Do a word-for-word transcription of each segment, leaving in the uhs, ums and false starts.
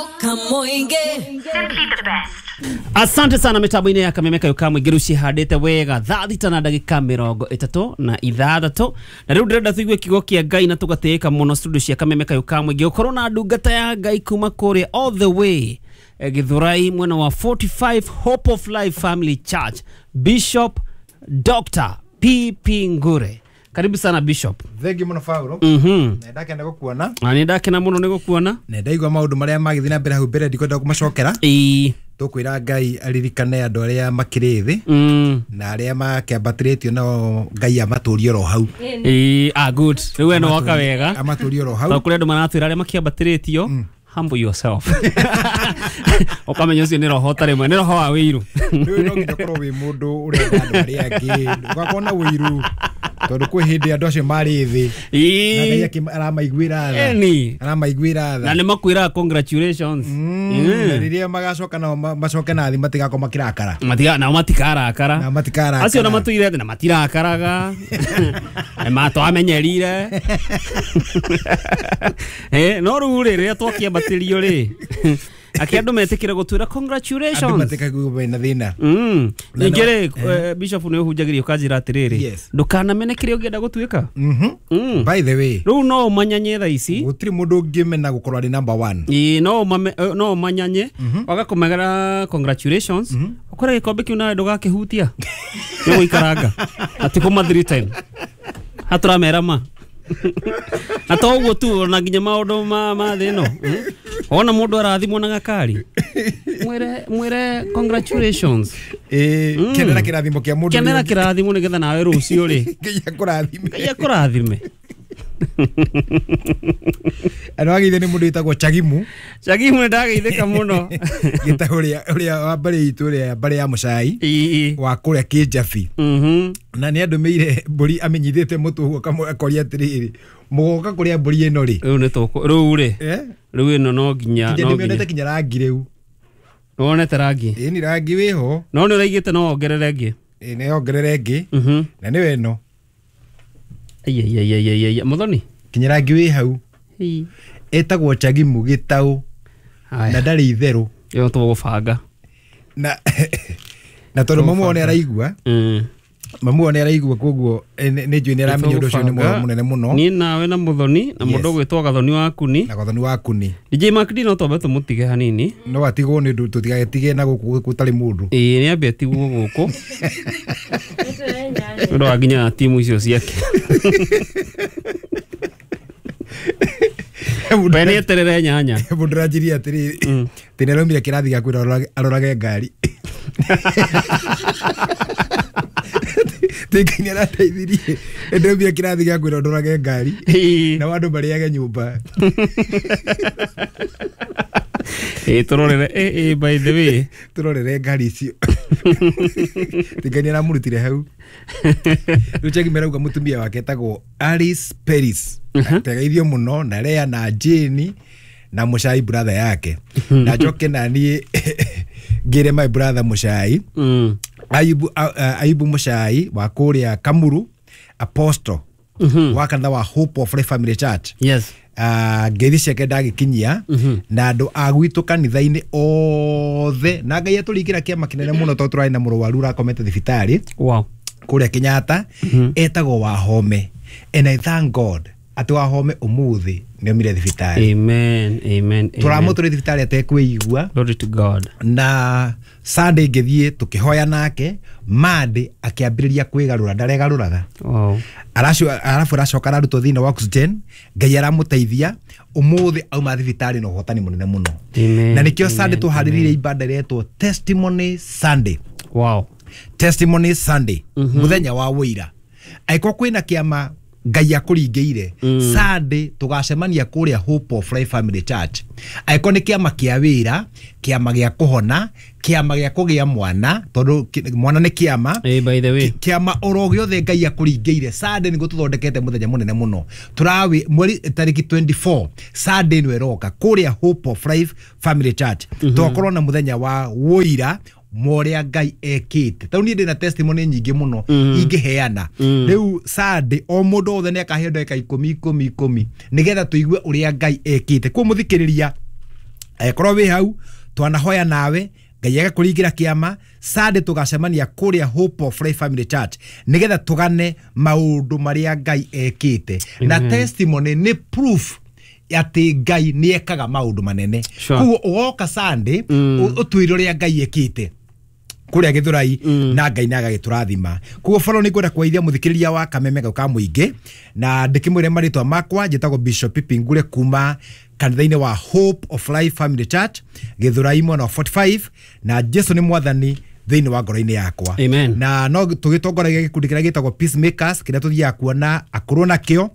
Simply the best. Asante sana mitambo-inĩ ya Kameme Kayũ ka Mũingĩ rĩu cihandĩte wega thaa thita na ndagĩka mĩrongo ĩtatũ na ithathatũ. Na rĩu ndĩrenda tũigue kiugo kĩa Ngai na tũgatĩĩka mũno studio cia Kameme Kayũ ka Mũingĩ gũkorwo na ndungata ya Ngai kuma kũrĩa all the way eh, Githurai mwena wa forty-five Hope of Life Family Church, Bishop Doctor P P Ngure. Karibu sana Bishop. Thank you muno Paulo. Mhm. Na ndakena gukuona. Na nĩ ndakena mũno nĩ gũkuona. Na ndaigua maũndũ marĩa magĩthiĩ na mbere hau mbere ndikwenda kũmacokera. Ĩĩ. Tũkwĩra Ngai aririkane andũ arĩa makĩrĩ thĩ. Mm. Na arĩa makĩambatĩrĩtio nao Ngai amatũrie oro hau. Ĩĩ, ah good. Rĩu we no waka wega. Amatũrie oro hau. Tondũ kũrĩ andũ maratwĩra arĩa makĩambatĩrĩtio, Mm. humble yourself. Ũkamenya ũcio nĩ roho ũtarĩ mwega, nĩ roho wa wĩiru. Rĩu no nginya ũkorwo wĩ mũndũ ũrenda andũ arĩa angĩ, ũgakorwo na wĩiru. Tondũ kwĩ hĩndĩ andũ acio marĩ thĩ. Ĩĩ. Na Ngai akĩ- aramaiguĩra tha. Ĩni. Aramaiguĩra tha. Na nĩ makwĩraga congratulations. Mm, Mm. na rĩrĩa magacoka nao ma-, macoke na thĩ matigakorwo makĩrakara. Matiga, nao matikarakara. Nao matikarakara. Acio na matũire thĩ na matirakaraga. Nĩ matwamenyerire. Eh, no rĩu rĩ, rĩrĩa twakĩambatĩrio rĩ, akĩ andũ metĩkĩre gũtwĩra congratulations. Andũ matikaigua mena thĩna. Mm. Na Ningĩ no- rĩ, eh, Bishop nĩ ũhunjagĩria ũkanjĩra atĩrĩrĩ, Yes. ndũkanamene kĩrĩa ũngĩenda gũtuĩka. Mhm. Mm. By the way, Rĩu no ũmanyanye thaa ici. gũtirĩ mũndũ ũngĩmena gũkorwo arĩ number one. Ĩĩ, no ũmame-, eh, no ũmanyanye, waga kũmegera congratulations, ũkore gĩkombe kĩu nawe ndũgakĩhutia. Nĩ gũikaranga. Na ti kũma three time. Hatũramera ma. Na to ũguo tu, ona nginya maũndũ ma, ma thĩ ĩno. Mm. Wona mũndũ arathimwo na gakari, mwĩre, mwĩre congratulations. Ĩĩ, Mm. kenera kĩrathimo kĩa mũndũ Kenera ũrĩa ũngĩ. kĩrathimo nĩgetha nawe rũciũ rĩ. Ngai akũrathime. Ngai akũrathime. Andũ ageithio nĩ mũndũ wĩtagwo Chagimu. Chagimu nĩ ndageithĩka mũno. Gĩtagwo ũrĩa, ũrĩa wa mbarĩ itũ, ũrĩa mbarĩ ya Mũcai. Ĩĩ. Wa kũrĩa Kĩnjabi. Mhm. Na nĩ andũmĩire mbũri amenyithĩte mũtũ ũguo akamũ-, akoria atĩrĩrĩ, mũgoka kũrĩa mbũri ĩno rĩ? Rĩu nĩ tũkũ-, rĩu rĩ? Eh? Rĩu ĩno no nginya, Nginya no ndĩmĩonete nginya. nginya rangi rĩu. Nĩwonete rangi? Ĩĩ, nĩ rangi wĩho. No nĩ ũraigĩte no wongerere ĩngĩ? Ĩĩ, nĩ wongerere ĩngĩ. Mhm. Na nĩyo ĩno. Ai, ai, ai, ai, ai, ai, Mũthoni? Nginya rangi wĩ hau. Ĩĩ. Ĩtagwo Chagimu Gĩtaũ. Haya. Na ndarĩ itherũ. Ĩyo tũgũbanga. Na, na tondũ mamu wao nĩ araigua. Mm. Mamu wao nĩ araigua, koguo, eh, nĩ, nĩ njũĩ nĩ aramenya ũndũ ũcio nĩ Tũgũbanga. mũnene mũno. Niĩ nawe na Mũthoni, na mũndũ Yes. ũgwĩtwo Gathoni wa Kuni. Na Gathoni wa Kuni. D J Mark D no twambe tũmũtige hanini. No atigwo nĩ ũndũ tũtigatige na gũkũ gũtarĩ mũndũ. Ĩĩ, nĩ ambe atigwo gũkũ. Nĩ ũndũ wa nginya timu icio ciake. We nĩ eterere nyanya. Mũndũ aranjirie atĩrĩrĩ, Mm. atĩ nĩ araumire kĩrathi gĩa kwĩra arorage, arorage ngari. Ngai nĩ arateithirie. Nĩ ndaumire kĩrathi gĩa kwĩra ndorage ngari. Ĩĩ. Na andũ marĩage nyũmba. Ĩĩ, tũrorere. Ĩ, ĩ, by the way. Tũrorere ngari icio. Ngai nĩ aramũrutire hau. Rĩu Chagime arauga mũtumia wake etagwo Alice Peris. Mhm. Tegeithio mũno na Lea na Jane na Mũcai brother yake. Na njoke na niĩ ngĩre my brother Mũcai. Mm. Ayubu, a, a, Ayubu Mũcai wa kũrĩa Kamuru, Apostle. Mhm. Wa kanitha wa Hope of Life Family Church. Yes. Ah, ngeithi ciake ndagĩkinyia. Mhm. Na andũ a gwitũ kanitha-inĩ othe. Na Ngai atũringĩra kĩama kĩnene mũno tondũ tũrarĩ na mũrwaru ũrakomete thibitarĩ. Wow. Kũrĩa Kenyatta. Mhm. Etagwo Wahome. And I thank God atĩ Wahome ũmũthĩ nĩ aumire thibitarĩ. Amen, amen, amen. Tũramũtũrĩ thibitarĩ atekwĩigua. Glory to God. Na Sunday ngĩthiĩ tũkĩhoya nake, Monday akĩambĩrĩria kwĩgarũra, ndaregarũraga. Wow. Aracu-, arabu aracoka ararutwo thĩinĩ wa oxygen, Ngai aramũteithia, ũmũthĩ auma thibitarĩ na ũhotani mũnene mũno. Amen, Na nĩkĩo Sunday amen, tũharĩrĩirie amen. ibada ĩretwo Testimony Sunday. Wow. Testimony Sunday. Mhm. Mũthenya wa wũira. Angĩkorwo kwĩna kĩama Ngai akũringĩire, Mm. Sunday tũgacemania kũrĩa Hope of Life Family Church. Angĩkorwo nĩ kĩama kĩa wĩra, kĩama gĩa kũhona, kĩama gĩa kũgĩa mwana, tondũ kĩ-, mwana nĩ kĩama. Hey, by the way. Kĩ-, kĩama oro gĩothe Ngai akũringĩire, Sunday nĩguo tũthondekete mũthenya mũnene mũno. Tũrawi mweri tarĩki twenty-four, Sunday nĩyo ĩroka kũrĩa Hope of Life Family Church. Mm-hmm. Tũgakorwo na mũthenya wa wũira moria Ngai ekĩte. Tondũ niĩ ndĩna testimony nyingĩ mũno Mm. ingĩheana. Mm. Rĩu Sunday o mũndũ wothe nĩ akaheo ndagĩka ikũmi, ikũmi, ikũmi, nĩgetha tũigue ũrĩa Ngai ekĩte. Koguo mũthikĩrĩria, Angĩkorwo wĩ hau twanahoya nawe Ngai agakũringĩra kĩama. Sunday tũgacemania kũrĩa Hope of Life Family Church nĩgetha tũgane maũndũ marĩa Ngai ekĩte na testimony nĩ proof atĩ Ngai nĩ ekaga maũndũ manene. Sure. Koguo ũgoka Sunday ũtwĩre ũrĩa Ngai ekĩte kũrĩa Gĩthũrai na Ngai nĩ agagĩtũrathima. Koguo baro nĩ ngwenda kũgeithia mũthikĩrĩria wa Kameme gau ka mũingĩ na ndĩkĩmwĩre marĩtwa makwa. Njĩtagwo Bishop Pipi Ngure kuma kanitha-inĩ wa Hope of Life Family Church Gĩthũrai mwena wa forty-five, na Jesu nĩ mwathani thĩinĩ wa ngoro-inĩ yakwa. Amen. Na no tũgĩtongoragia gĩkundi kĩrĩa gĩtagwo Peacemakers kĩrĩa tũthiaga kuona akũrũ nakĩo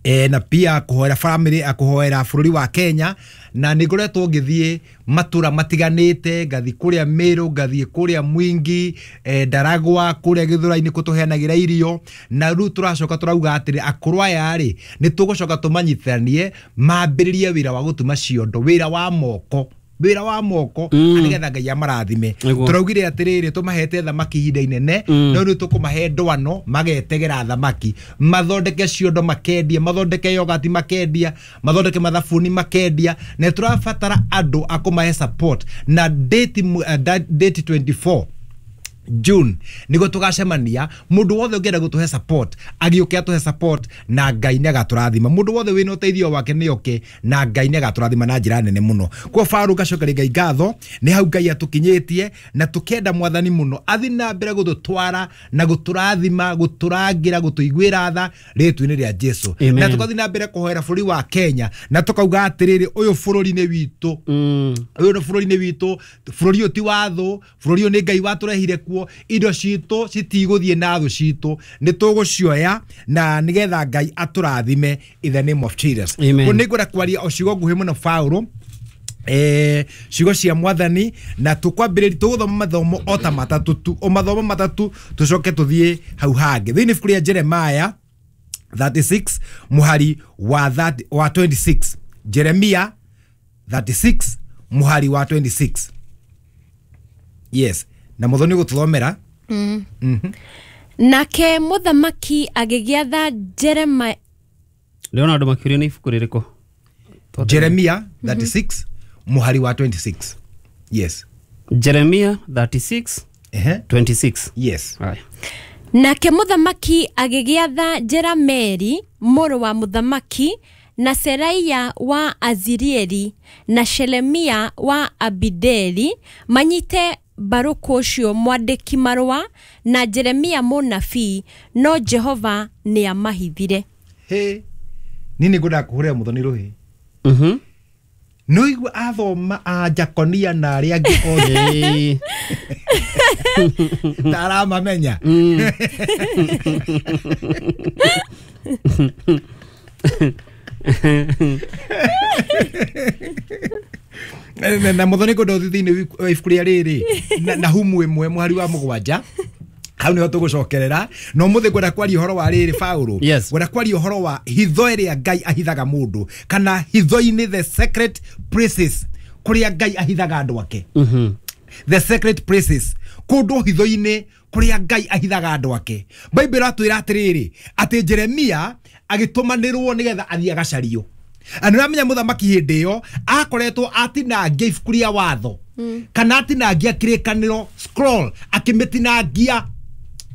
e, na pia kũhoera family, kũhoera bũrũri wa Kenya. Na nĩ ngoretwo ngĩthiĩ matũra matiganĩte, ngathiĩ kũrĩa Meru, ngathiĩ kũrĩa Mwingi, e, Ndaragwa, kũrĩa Gĩthũrai-inĩ kũ tũheanagĩra irio. Na rĩu tũracoka tũrauga atĩrĩ, akũrũ aya rĩ nĩ tũgũcoka tũmanyitithanie mambĩrĩrie wĩra wa gũtuma ciondo, wĩra wa moko, wĩra wa moko mm. nĩgetha Ngai amarathime. Nĩguo. Tũraugire atĩrĩrĩ, tũmahete thamaki ihinda inene mm. no rĩu tũkũmahe ndwano magetegera thamaki, mathondeke ciondo makendia, mathondeke yogati makendia, mathondeke mathabuni makendia. Na tũrabatara andũ a kũmahe support na date, uh, date twenty-four June nĩguo tũgacemania. Mũndũ wothe ũngĩenda gũtũhe support agĩũke atũhe support na Ngai nĩ agatũrathima. Mũndũ wothe wĩna ũteithio wake nĩ oke na Ngai nĩ agatũrathima na njĩra nene mũno. Kwa Faru ngacokeria Ngai ngatho nĩ hau Ngai atũkinyĩtie, na tũkenda mwathani mũno athi na mbere gũtũtwara na gũtũrathima, gũtũrangĩra, gũtũiguĩra tha rĩtwa-inĩ rĩa Jesu. Amen. Na tũgathiĩ na mbere kũhoera bũrũri wa Kenya na tũkauga atĩrĩrĩ, ũyũ bũrũri nĩ witũ, ũyũ nĩ bũrũri nĩ witũ, bũrũri ũyũ ti wa thũ, bũrũri ũyũ nĩ Ngai watũrehire kuo, indo citũ citigũthiĩ na thũ citũ, nĩ tũgũcioya na nĩgetha Ngai atũrathime in the name of Jesus. Amen. Kũu nĩ ngwenda kwaria o ciugo nguhĩ mũno Paulo, eh, ciugo cia mwathani, na tũkwambĩrĩria tũgũthoma mathomo o ta matatũ tu, o mathomo matatũ tũcoke tũthiĩ hau hangĩ. Thĩinĩ ibuku rĩa Jeremiah thirty-six mũhari wa thirty, wa twenty-six. Jeremiah thirty-six mũhari wa twenty-six. Yes, na mũthoni gũtũthomera. Mm. Mm-hmm. Nake mũthamaki agĩgĩatha Jeremiah. Ndĩrona andũ makĩũria nĩ ibuku rĩrĩkũ. Jeremiah thirty-six mũhari wa twenty-six. Yes. Jeremiah thirty-six uh-huh. twenty-six. Yes. Aye. Nake mũthamaki agĩgĩatha Jerameli mũrũ wa mũthamaki na Seraia wa Azirieli na Shelemia wa Abideli manyite Baruku ũcio mwandĩki marũa na Jeremia mũnabii, no Jehova nĩ amahithire. He, nini ngwenda kũhũrĩra mũthoni rũhĩ. Mhm. No igua athoma a Jakonia na arĩa angĩ othe ta aramamenya. Na mũthoni ngwenda ũthiĩ thĩinĩ wa ibuku rĩa rĩrĩ na Nahumu ĩmwe mũhari wa mũgwanja, hau nĩho tũgũcokerera. No mũthĩ ngwenda kwaria ũhoro wa rĩrĩ Paulo. Yes. Ngwenda kwaria ũhoro wa hitho ĩrĩa Ngai ahithaga mũndũ, kana hitho-inĩ, the secret places, kũrĩa Ngai ahithaga andũ ake. Mhm. The secret places, kũndũ hitho-inĩ kũrĩa Ngai ahithaga andũ ake. Bible ĩratwĩra atĩrĩrĩ, atĩ Jeremia agĩtũmanĩrwo nĩgetha athiĩ agacario. Na nĩũramenya mũthamaki hĩndĩ ĩyo akoretwo atinangia ibuku rĩa watho, kana atinangia kĩrĩkanĩro scroll, akĩmĩtinangia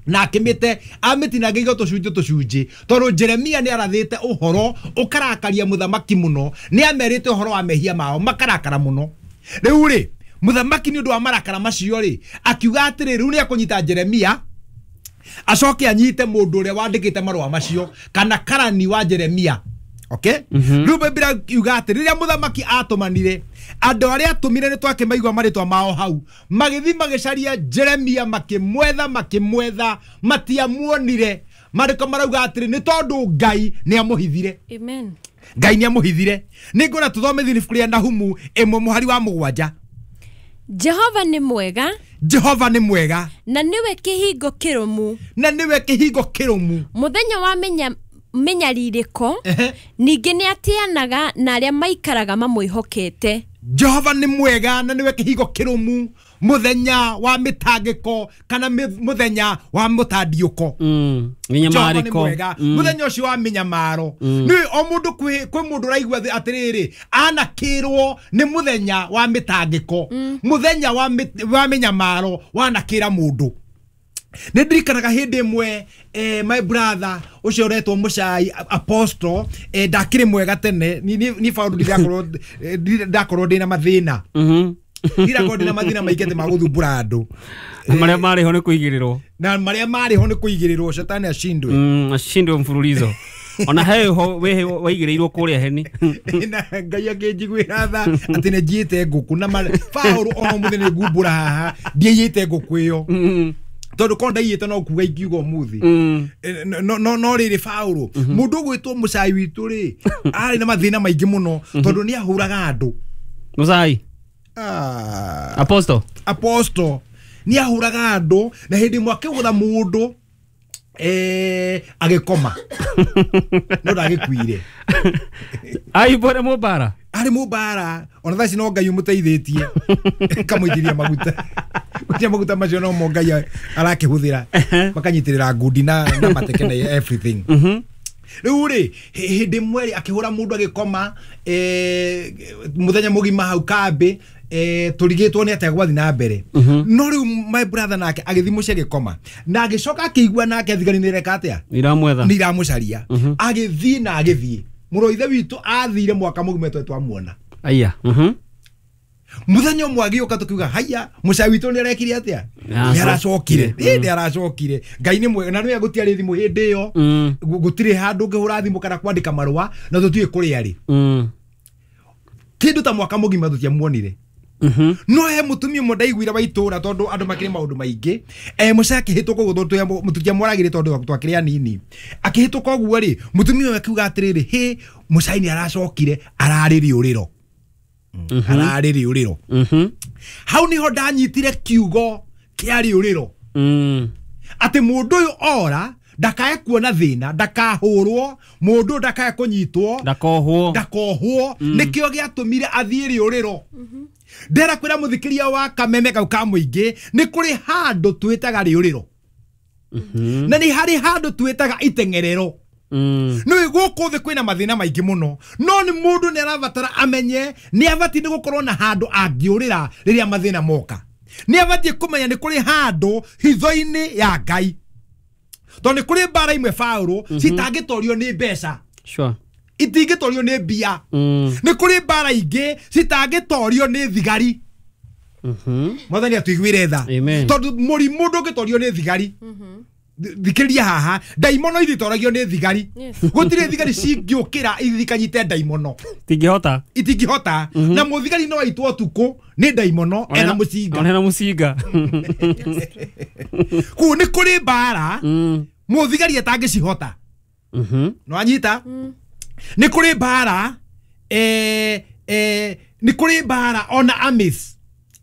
na akĩmĩte amĩtinangia tũcunjĩ tũcunjĩ, tondũ Jeremia nĩ arathĩte ũhoro ũkarakaria mũthamaki mũno, nĩ amerite ũhoro wa mehia mao makarakara mũno. Rĩu rĩ mũthamaki nĩ ũndũ wa marakara macio rĩ akiuga atĩrĩ, rĩu nĩ akũnyita Jeremia acoke anyite mũndũ ũrĩa wandĩkĩte marũa macio kana karani wa Jeremia. Okay? Rĩu Bibilia yuga atĩ rĩrĩa mũthamaki atũmanire andũ arĩa atũmire nĩ twakĩmaigua marĩtwa mao hau, magĩthiĩ magĩcaria Jeremia, makĩmwetha makĩmwetha matiamuonire. Maandĩko marauga atĩrĩ nĩ tondũ Ngai nĩ amũhithire. Amen. Ngai nĩ amũhithire. Nĩ ngwenda tũthome thĩinĩ ibuku rĩa Nahumu ĩmwe mũhari wa mũgwanja. Jehova nĩ mwega, Jehova nĩ mwega, na nĩwe kĩhingo kĩrũmu, na nĩwe kĩhingo kĩrũmu. Mũthenya wa menya mĩnyarirĩko ningĩ nĩ atĩanaga na arĩa maikaraga mamwĩhokete. Jehova nĩ mwega na nĩwe kĩhingo kĩrũmu mũthenya wa mĩtangĩko kana mũthenya wa mũtandiũko. Mm. Mĩnyamarĩko. Mũthenya ũcio wa mĩnyamaro. Nĩ o mũndũ kwĩ kwĩ mũndũ ũraigua atĩrĩrĩ anakĩrwo nĩ mũthenya wa mĩtangĩko. Mũthenya wa wa mĩnyamaro wanakĩra mũndũ. Nĩ ndirikanaga hĩndĩ ĩmwe eh, my brother ũcio ũretwo Mũcai Apostle eh, ndakĩrĩ mwega tene ni ni faũndũ ndirakorwo ndakorwo ndĩna mathĩna. Mhm. Ndirakorwo ndĩna mathĩna maingĩ atĩ ma gũthumbũra andũ. Marĩa marĩ ho nĩ kũigĩrĩrwo. Na marĩa marĩ ho nĩ kũigĩrĩrwo shetani ashindwe. Mm, ashindwe mfululizo. Ona he ho we waigĩrĩirwo kũrĩa heni. Na Ngai akĩnjiguĩra tha atĩ nĩ njiĩte ngũkũ na faũrũ ona ũmũthĩ nĩ ngumbũra haha ndiaiyĩte ngũkũ ĩyo. Tondu ko ndaiyĩte no kuga ingiuga ũmũthĩ. No no no rĩrĩ faũrũ mũndũ ũgwĩtwo Mũcai witũ rĩ arĩ na mathĩna maingĩ mũno tondũ nĩ ahũraga andũ. Mũcai. Ah. Apostle. Apostle nĩ ahũraga andũ na hĩndĩ ĩmwe akĩgũtha mũndũ eh agĩkoma. No ndagĩkuire. Aibore mũmbara. Arĩ mũmbara ona thaa ici no Ngai ũmũteithĩtie kamũitĩria maguta. Gũtirĩ maguta macio no mo Ngai arakĩhũthĩra makanyitĩrĩra ngundi na na mateke na everything. Rĩu rĩ hĩndĩ ĩmwe rĩ akĩhũra mũndũ agĩkoma eh mũthenya mũgima hau kambĩ eh tũrigĩtwo nĩ atĩa gwathiĩ na mbere. No rĩu my brother nake agĩthiĩ mũciĩ agĩkoma na agĩcoka akĩigua nake thigari nĩ ireka atĩa iramwetha nĩ iramũcaria agĩthiĩ na agĩthiĩ mũrũ ithe witũ athire mwaka mũgima twe twamuona. Aya. Mhm. Mũthenya ũmwe agĩũka tũkiuga haya mũcai witũ nĩ arekire atĩa nĩ aracokire ĩ nĩ aracokire Ngai nĩ mwega na nĩwe gũtiarĩ thimũ hĩndĩ ĩyo gũtirĩ handũ ũngĩhũra thimũ kana kwandĩka marũa na tũtiũĩ kũrĩa arĩ kĩndũ ta mwaka mũgima tũtiamuonire. No he mũtumia ũmwe ndaiguire wa itũra tondũ andũ makĩrĩ maũndũ maingĩ eh mũcai akĩhĩtũka ũguo tũtiamwaragĩre tondũ twakĩrĩ anini akĩhĩtũka ũguo rĩ mũtumia ũyũ akiuga atĩrĩrĩ hĩ mũcai nĩ aracokire ararĩ rĩũrĩro ararĩ rĩũrĩro. Hau niho ndanyitire kiugo kĩa rĩũrĩro atĩ mũndũ ũyũ ora ndakae kuona thĩna ndakahũrwo mũndũ ndakae kũnyitwo ndakohwo ndakohwo nĩkĩo gĩatũmire athiĩ rĩũrĩro. Ndera kwĩra mũthikĩria wa kameme kau ka mũingĩ nĩ kũrĩ handũ twĩtaga rĩũrĩro na nĩ harĩ handũ twĩtaga iteng'erero. Nĩ gũkũ thĩ kwĩna mathĩna maingĩ mũno no nĩ mũndũ nĩ arabatara amenye nĩ abatiĩ nĩ gũkorwo na handũ angĩũrĩra rĩrĩa mathĩna moka. Nĩ abatiĩ kũmenya nĩ kũrĩ handũ hitho-inĩ ya Ngai tondũ nĩ kũrĩ mbara imwe faũrũ citangĩtorio nĩ mbeca. Sure. Itingĩtorio nĩ mbia. Nĩ kũrĩ mbara ingĩ citangĩtorio nĩ thigari. Mwathani atuiguĩre tha tondũ mũrimũ ndũngĩtorio nĩ thigari. Thikĩrĩria haha ndaimono ithitoragio nĩ thigari. Gũtirĩ thigari cingĩũkĩra ithiĩ ikanyite ndaimono itingĩhota itingĩhota na mũthigari no aitwo ũtukũ nĩ ndaimono ena mũcinga ena mũcinga. Kũu nĩ kũrĩ mbara mũthigari atangĩcihota. No anyita nĩ kũrĩ mbara eh eh nĩ kũrĩ mbara ona amis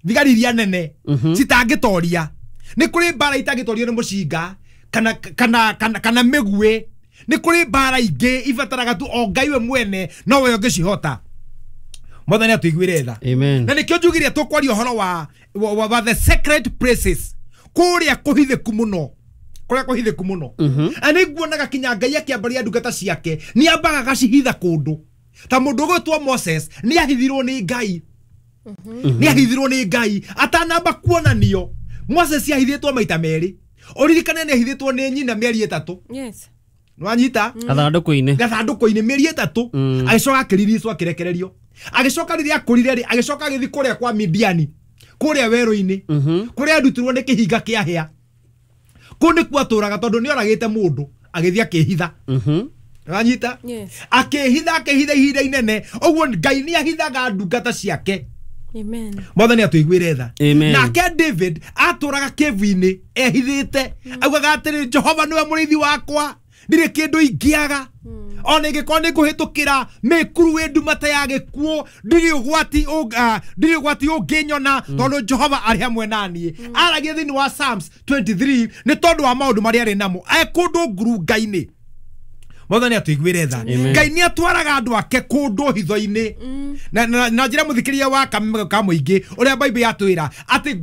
thigari iria nene citangĩtoria. Nĩ kũrĩ mbara itangĩtorio nĩ mũcinga kana kana kana kana mĩguĩ. Nĩ kũrĩ mbara ingĩ ibataraga tu o Ngai we mwene no we ũngĩcihota. Mwathani atuiguĩre tha. Na nĩkĩo njugire tũkwaria ũhoro wa wa the sacred places kũrĩa kũhithĩku mũno kũrĩa kũhithĩku mũno. Na nĩ nguonaga kinya Ngai akĩambaria ndungata ciake nĩ ambaga agacihitha kũndũ ta mũndũ ũgwĩtwo Moses nĩ ahithirwo nĩ Ngai. Nĩ ahithirwo nĩ Ngai atanamba kuonanio. Moses ahithĩtwo maita merĩ. Ũririkane nĩ ahithĩtwo nĩ nyina mĩeri ĩtatũ. Yes. Nĩwanyita gathandũkũ-inĩ gathandũkũ-inĩ mĩeri ĩtatũ agĩcoka akĩriricwo akĩrekererio agĩcoka rĩrĩa akũrire rĩ agĩcoka agĩthiĩ kũrĩa kwa Midiani kũrĩa werũ-inĩ kũrĩa arutirwo nĩ kĩhinga kĩa hĩa. Kũu nĩkuo atũraga tondũ nĩ oragĩte mũndũ agĩthiĩ akĩhitha. Nĩwanyita akĩhitha akĩhitha ihinda inene ũguo Ngai nĩ ahithaga ndungata ciake. Amen. Mwathani atuiguĩre tha. Nake David atũraga kĩvu-inĩ ehithĩte augaga atĩrĩ Jehova nĩwe mũrĩithi wakwa ndirĩ kĩndũ ingĩaga ona ingĩkorwo nĩ ngũhĩtũkĩra mĩkuru ĩ nduma ta ya gĩkuũ ndirĩ ũgwati ndirĩ ũgwati ũngĩnyona tondũ Jehova arĩ hamwe na niĩ. Aragia thĩinĩ wa Psalms twenty-three nĩ tondũ wa maũndũ marĩa arĩ namo e kũndũ ngurunga-inĩ. Mwathani atũiguĩre tha. Ngai nĩ atwaraga andũ ake kũndũ hitho-inĩ na na na njĩra mũthikĩria wa kameme ka mũingĩ ũrĩa Bible yatwĩra atĩ